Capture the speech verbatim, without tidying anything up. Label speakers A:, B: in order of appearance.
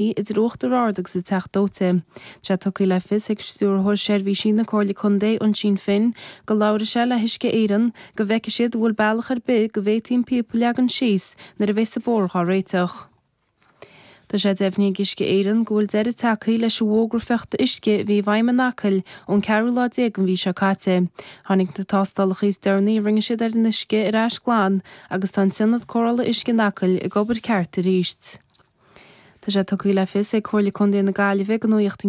A: idir Uachtar Ard agus an Teach Dóite. Tá sé tugtha le fios ag Stiúrthóir Seirbhísí na Comhairle Contae Oisín Finn go labhróidh sé le hUisce Éireann go bhfeicfidh siad bhfuil bealach ar bith go bhféadfaí an píopa a leagan síos nuair a bheas an bóthar á réiteach. Tá sé deimhnithe ag Uisce Éireann go bhfuil deireadh tagtha leis an bhfógra fiuchta uisce a bhí i bhfeidhm in Acaill ón ceathrú lá déag den mhí seo caite. Tháinig na tástálacha is deireanaí a rinne siad ar an uisce ar ais glan agus tá an t-ionad cóireála uisce in Acaill ag obair ceart arís. Tá sé tugtha le fios ag Comhairle Contae na Gaillimhe go nuaíocht